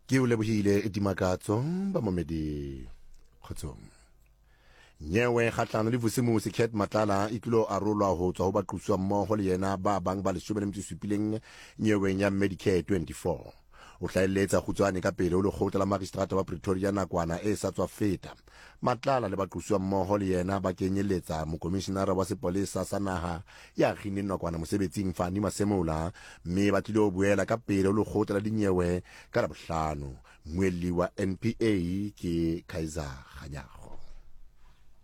Ke o lebohile Dimakatso bamamedi kgotsong. Nyewe kgahlano le Vusimusi Cat Matlala e tlilo arolwa ho tswa ho baqosuwa mmoho le yena ba bang ba 17 nyeweng ya Medicare 24. O hlahelletsa kgutswane ka pele ho lekgotla la magistrata wa Pretoria nakwana e sa tswa feta. Matlala le baqosuwa mmoho le yena ba kenyeletsa mokomishinara wa sepolesa sa naha ya kginneng nakwana mosebetsing Fannie Masemola mme ba tlilo boela ka pele ho lekgotla la dinyewe ka Labohlano. Mmuelli wa NPA ke Kaizer Kganyago.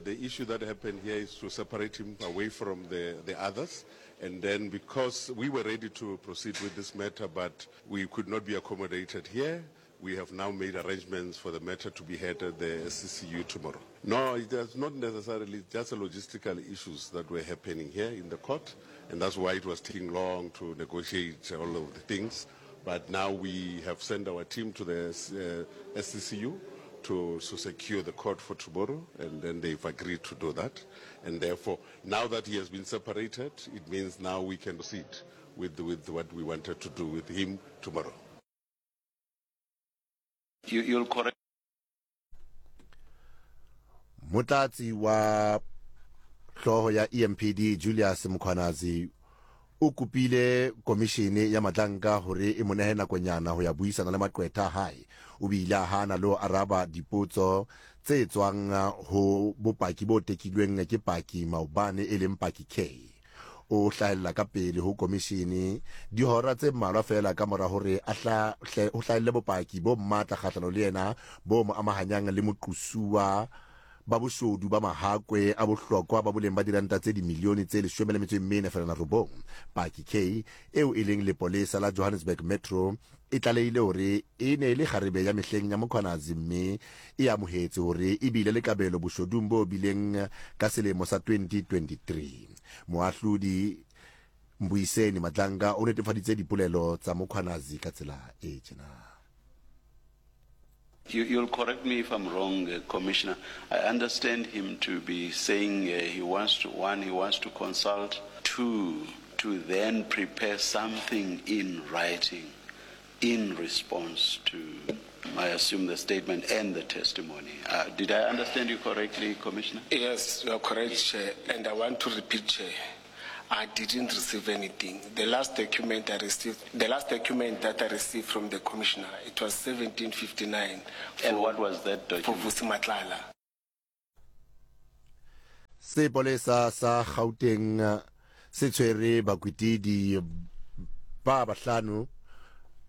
The issue that happened here is to separate him away from the, the others. And then because we were ready to proceed with this matter, but we could not be accommodated here, we have now made arrangements for the matter to be heard at the SCCU tomorrow. No, it is not necessarily just logistical issues that were happening here in the court, and that's why it was taking long to negotiate all of the things. But now we have sent our team to the uh, SCCU to, to secure the court for tomorrow, and then they've agreed to do that. And therefore, now that he has been separated, it means now we can proceed with, with what we wanted to do with him tomorrow. You, you'll correct. Motlatsi wa hlooho ya EMPD Julius Mkhwanazi o kopile komishene ya matlanka hore e mo nehe nakonyana ho ya buisana le maqwetha a hae. O bile a hana le ho araba dipotso tse tswang ho bopaki bo tekilweng ke paki maobane e leng paki K. O hlahella ka pele ho komishene dihora tse mmalwa feela ka mora hore a hla, ho hlahelle bopaki bo matla kgahlano le yena bo mo amahanyang le moqosuwa ba boshodu ba mahakwe a bohlokwa ba boleng ba diranta tse dimilione tse 14.9. Paki K, eo e leng lepolesa la Johannesburg Metro, e tlalehile hore e ne e le kgarebe ya mehleng ya Mkhwanazi mme e amohetse hore e bile le kabelo boshodung bo bileng ka selemo sa 2023. Moahlodi Mbuyiseni Madlanga o netefaditse dipolelo tsa Mkhwanazi ka tsela e tjena. You, you'll correct me if I'm wrong, uh, Commissioner. I understand him to be saying uh, he wants to, one, he wants to consult, two, to then prepare something in writing in response to, I assume, the statement and the testimony. Uh, did I understand you correctly, Commissioner? Yes, you are correct, Chair. And I want to repeat, Chair. I didn't receive anything. The last document I received, the last document that I received from the commissioner, it was 1759. For, and what was that document? For Vusi Matlala. Sepolesa sa Gauteng se tshwere bakwetidi ba bahlano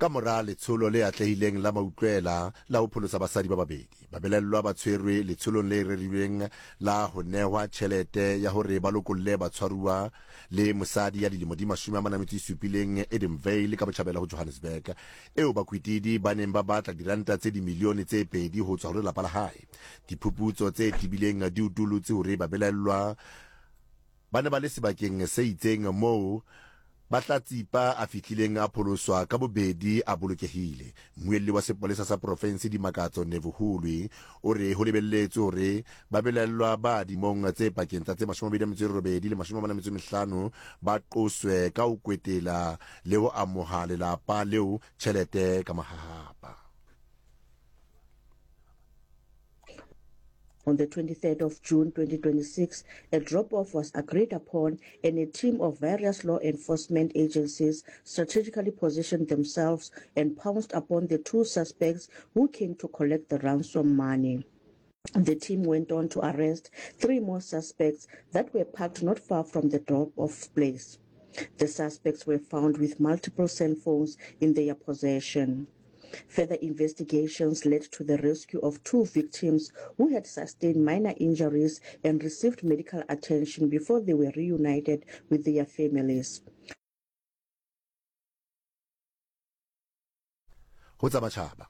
ka mora letsholo le atlehileng la mautlwela la ho pholosa basadi ba babedi. Babelaellwa ba tshwerwe letsholong le rerilweng la ho nehwa tjhelete ya hore ba lokolle batshwaruwa le mosadi ya dilemo di 47 Edenvale ka botjhabela ho Johannesburg, eo bakwetidi ba neng ba batla diranta tse dimilione tse pedi ho tswa ho lelapa la hae. Diphuputso tse tebileng di utulotse hore babelaellwa Ba ne ba le sebakeng se itseng moo Bahlatsipa a fihlileng a pholoswa ka bobedi a bolokehile. Mmuelli wa sepolesa sa porofensi Dimakatso Nevhuhulwi o re ho lebelletswe hore babelaellwa ba dimong tse pakeng tsa tse 28 le 45 ba qoswe ka ho kwetela le ho amoha lelapa leo tjhelete ka mahahapa. On the 23rd of June 2026, a drop-off was agreed upon and a team of various law enforcement agencies strategically positioned themselves and pounced upon the two suspects who came to collect the ransom money. The team went on to arrest three more suspects that were parked not far from the drop-off place. The suspects were found with multiple cell phones in their possession. Further investigations led to the rescue of two victims who had sustained minor injuries and received medical attention before they were reunited with their families. Ho tsa matjhaba,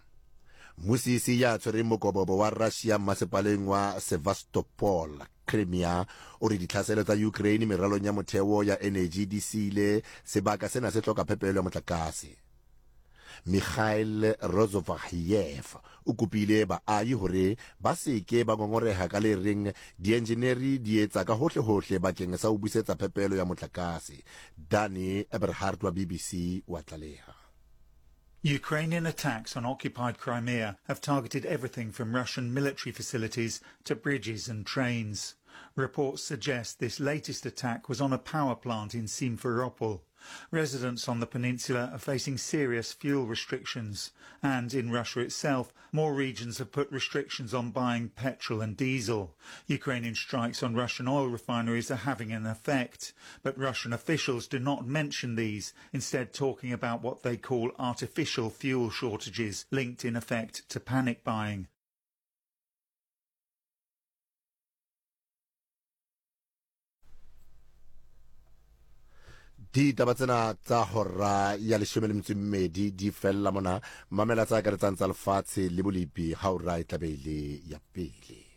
Mmusisi ya tshwereng mokobobo wa Russia mmasepaleng wa Sevastopol, Crimea, o re ditlhaselo tsa Ukraine meralong ya motheo ya eneji di siile sebaka sena se hloka phepelo ya motlakase. Mikhail Rozovahiev o kopile baahi hore ba se ke ba ngongoreha ka le reng dienjeneri di etsa ka hohle-hohle bakeng sa ho busetsa phepelo ya motlakase. Danny Eberhardt wa BBC o a tlaleha. Ukrainian attacks on occupied Crimea have targeted everything from Russian military facilities to bridges and trains. Reports suggest this latest attack was on a power plant in Simferopol. Residents on the peninsula are facing serious fuel restrictions. And in Russia itself, more regions have put restrictions on buying petrol and diesel. Ukrainian strikes on Russian oil refineries are having an effect. But Russian officials do not mention these, instead talking about what they call artificial fuel shortages linked in effect to panic buying. Ditaba tsena tsa hora ya leshome le metso e mmedi di fella mona. Mamela tsa akaretsang tsa lefatshe le bolepi ha ora e tlabe e le ya pele.